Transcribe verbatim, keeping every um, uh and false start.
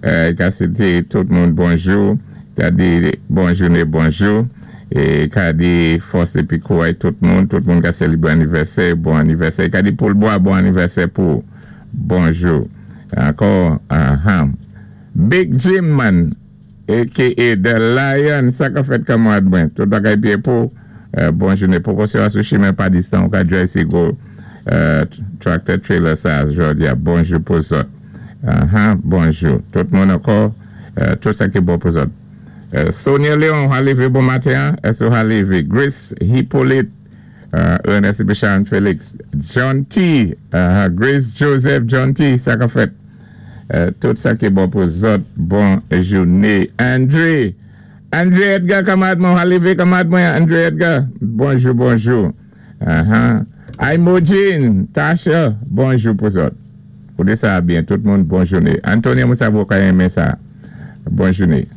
Euh, ka swété tout moun bonjou, ka di bon jouné, bonjou, é ka di fòs épi kouway tout moun, tout moun ka sélébwé anivèsè, bon anivèsè, ka di Paul Bois, bon anivèsè pou bonjou. Ankò, uh-huh. Big Jim man, A K A The Lion, sa ka fèt, kanmarad mwen, tout bagay byen pou, euh, bon jouné, pou kon se sou chimen pa distan, ou ka drive si gwo euh, tractor trailer sa, jodi a, bonjou pou zòt. Uh-huh, bonjou. Tout moun ankò, euh, tout sa ki bon pou zòt. Euh, Sonia Léon, ha lévé bon maten, èské ha lévé? Grace Hippolyte, euh, Ernest Bichan Félix, John T, uh, Grace Joseph John T, sa ka fèt. Euh, tout sa ki bon pou zòt, bon jouné. André, André Edgar, kanmarad mwen, ha lévé, kanmarad mwen, André Edgar, bonjou, bonjou. Uh-huh. Imogene, Tasha, bonjou pou zòt. Kouté sa byen, tout moun, bon jouné. Antonio Moussa, ka renmen sa. Bon jouné.